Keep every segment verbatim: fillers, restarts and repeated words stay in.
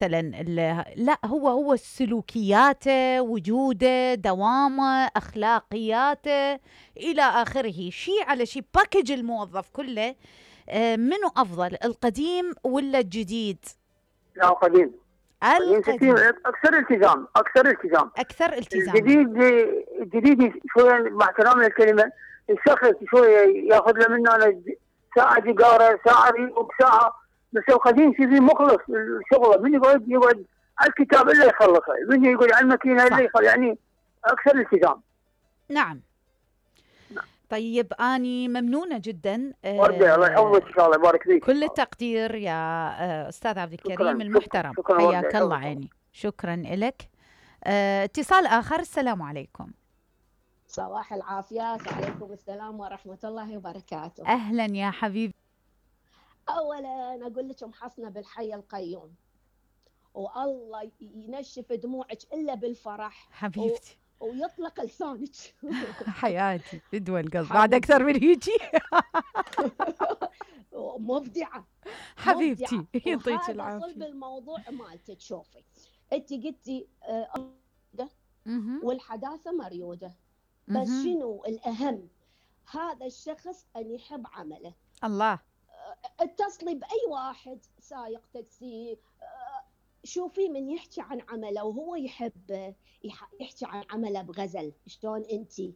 مثلا لا، هو هو سلوكياته، وجوده، دوامه، اخلاقياته الى اخره، شيء على شيء، باكج الموظف كله. آه، منو افضل، القديم ولا الجديد؟ لا قديم. قديم القديم كثير، اكثر التزام، اكثر التزام. اكثر التزام. الجديد الجديد شويه مع احترام الكلمه الشخص شويه ياخذ له منه أنا ساعه جيجاره، ساعه ريبوك، ساعه. بس القديم شيء مخلص الشغله، من يقعد يقعد على الكتاب الا يخلصه، من يقعد على الماكينه الا يخلص، يعني اكثر التزام. نعم. طيب اني ممنونه جدا. وردة الله يحفظك ان شاء الله، يبارك فيك. كل التقدير يا استاذ عبد الكريم المحترم، حياك الله عيني، شكرا لك. اه اتصال اخر. السلام عليكم. صباح العافيه. وعليكم السلام ورحمه الله وبركاته. اهلا يا حبيبي. اولا اقول لك محصنه بالحي القيوم، والله ينشف دموعك الا بالفرح حبيبتي، و... ويطلق لسانك. حياتي بدوى القلب بعد اكثر من هيجي. مبدعه حبيبتي، يعطيك العافيه. صلب الموضوع مالتك. شوفي انت قلتي آه والحداثه مريوده، بس شنو الاهم؟ هذا الشخص ان يحب عمله. الله. اتصلي باي واحد سايق تاكسي، شوفي من يحكي عن عمله وهو يحب يحكي عن عمله بغزل، شلون انتي؟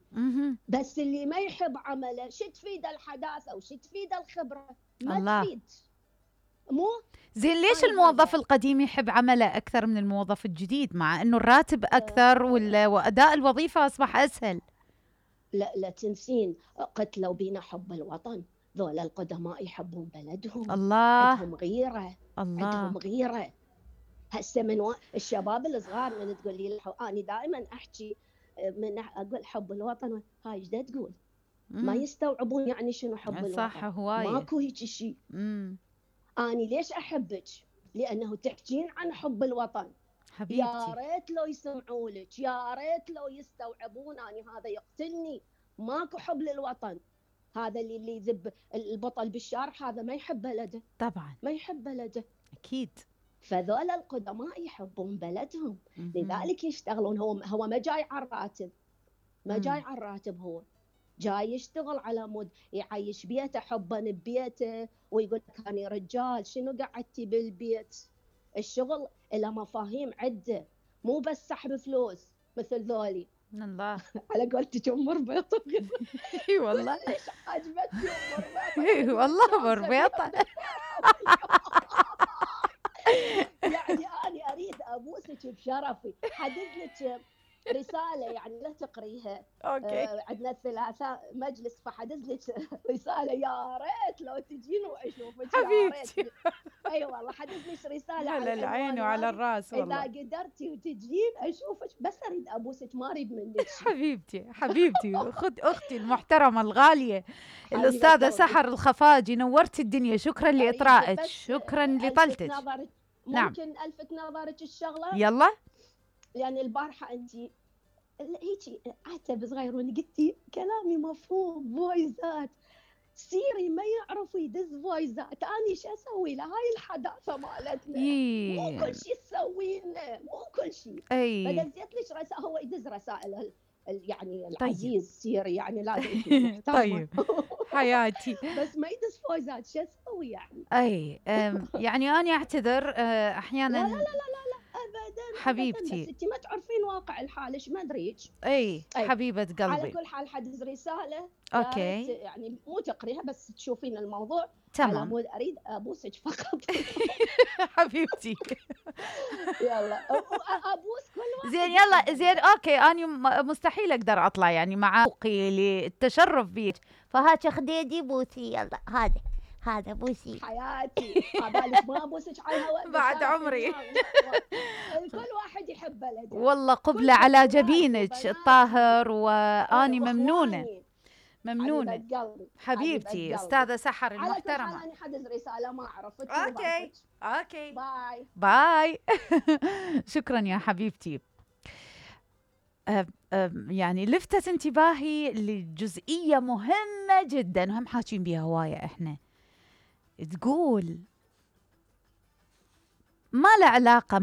بس اللي ما يحب عمله شو تفيد الحداثه وش تفيد الخبره؟ ما الله. تفيد. مو زين ليش الموظف القديم يحب عمله اكثر من الموظف الجديد، مع انه الراتب اكثر واداء الوظيفه اصبح اسهل؟ لا لا تنسين، قتلوا بينا حب الوطن. ذول القدماء يحبون بلدهم. الله. عندهم غيره. الله. عندهم غيره. هسه من و... الشباب الصغار من تقول لي انا دائما احكي من اقول حب الوطن، هاي ايش تقول؟ ما يستوعبون يعني شنو حب الوطن. صح، هوايه ماكو هيك شيء. انا ليش احبك؟ لانه تحكين عن حب الوطن. حبيبتي يا ريت لو يسمعوا لك، يا ريت لو يستوعبون. انا هذا يقتلني. ماكو حب للوطن. هذا اللي اللي يذب البطل بالشارع هذا ما يحب بلده. طبعا ما يحب بلده. اكيد. فذول القدماء يحبون بلدهم، لذلك يشتغلون. هو هو ما جاي على الراتب، ما جاي على الراتب، هو جاي يشتغل على مود يعيش بيته حبا ببيته، ويقول لك انا رجال شنو قعدتي بالبيت. الشغل له مفاهيم عده، مو بس سحب فلوس مثل ذولي. الله. على قولتك ام ربيطه. اي والله. ليش عجبتني ام ربيطه؟ اي والله ام ربيطه. يعني انا اريد ابوسك بشرفي، حدد لك رساله يعني لا تقريها. اوكي. آه عندنا الثلاثاء مجلس، فحدد لك رساله. يا ريت لو تجين واشوفك. حبيبتي. اي والله حدد لك رساله على العين وعلى الراس والله. اذا قدرتي وتجين اشوفك، بس اريد ابوسك ما اريد منك. حبيبتي حبيبتي خد اختي المحترمه الغاليه الاستاذه سحر الخفاجي، نورتي الدنيا. شكرا لاطرائك، شكرا لطلتك. نعم. ممكن الفت نظرك الشغله؟ يلا. لان البارحه انت هيك عتب صغير وانا قلتي كلامي مفهوم، فويزات سيري ما يعرفوا يدز فويزات. انا ايش اسوي له؟ هاي الحداثه مالتنا. إيه. مو كل شيء تسوي لنا، مو كل شيء. اي فدزيت لك رسائل، هو يدز رسائل يعني العزيز. طيب. سيري يعني لازم. طيب حياتي. بس ما يدز فويزات، شو اسوي يعني؟ اي يعني انا اعتذر احيانا. لا لا لا لا لا ابدا حبيبتي. بس انت ما تعرفين واقع الحال، ايش ما ادريك. اي حبيبه قلبي. على كل حال حدز رساله. اوكي. يعني مو تقريها بس تشوفين الموضوع. تمام. على مود اريد ابوسك فقط. حبيبتي. يلا ابوس كل واحد. زين يلا زين اوكي. انا مستحيل اقدر اطلع يعني مع ذوقي للتشرف بيك، فهات خديدي بوسي. يلا هذا هذا بوسي حياتي. عبالك ما ابوسك على الهواء بعد عمري. كل واحد يحب بلده والله. قبلة على جبينك الطاهر، واني ممنونه ممنونه حبيبتي استاذه سحر المحترمه. على كل حال انا حدز رساله ما اعرف. اوكي اوكي باي باي. شكرا يا حبيبتي. أه أه يعني لفتت انتباهي لجزئيه مهمه جدا، وهم حاكين بها هوايه. احنا تقول ما له علاقة